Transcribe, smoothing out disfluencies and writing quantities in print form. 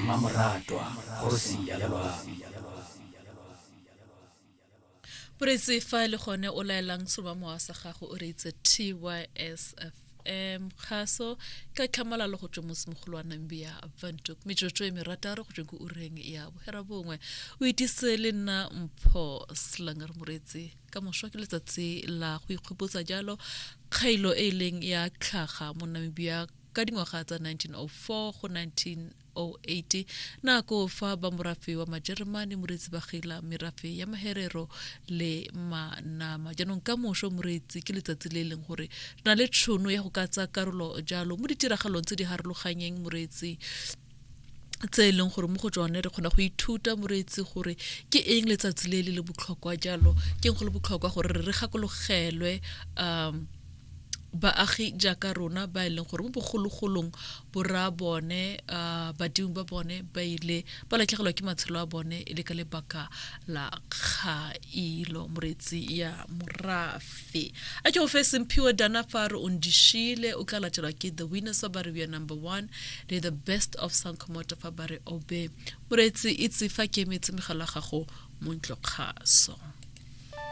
Mmamoratwa, kgosi ya loapi. Moreetsi fa e le gone o laelang seromamowa sa gago o reitse TYSFM kgaso ka tlhamalalo go tswa motsemogolo wa Namibia Windhoek metsotso e merataro go tsweng ko ureng ya bohera bongwe o itise le nna Mpho Slanger moreetsi ka moso ke letsatsi la go ikgopotsa jalo kgailo e e leng ya tlhaga mo Namibia ka dingwaga tsa 1904 go 1908 nako fa ba morafe wa Majeremane moreetsi ba gila merafe ya Maherero le Manama. Jaanong ka moso moreetsi ke letsatsi le e leng gore re na le tšhono ya go ka tsaya karolo jalo mo ditiragalong tse di harologanyeng moreetsi tse e leng gore mo go tsone re kgona go ithuta moreetsi gore ke eng letsatsi le le le botlhokwa jalo ke eng go le botlhokwa gore re gakologelwe um baagi jaaka rona ba e leng gore mo bogologolong borra bone uh, badimo ba bone ba ile ba latlhegelwa ke matshelo a bone e le ka lebaka la kgailo moreetsi ya morafe a ke go fe semphiwe dana fa re o ndishile o tla latelwa ke the winners fa ba re we are number one le the best of sankomoto fa ba re obe moreetsi itse fa ke emetse megala gago mo ntlokgaso.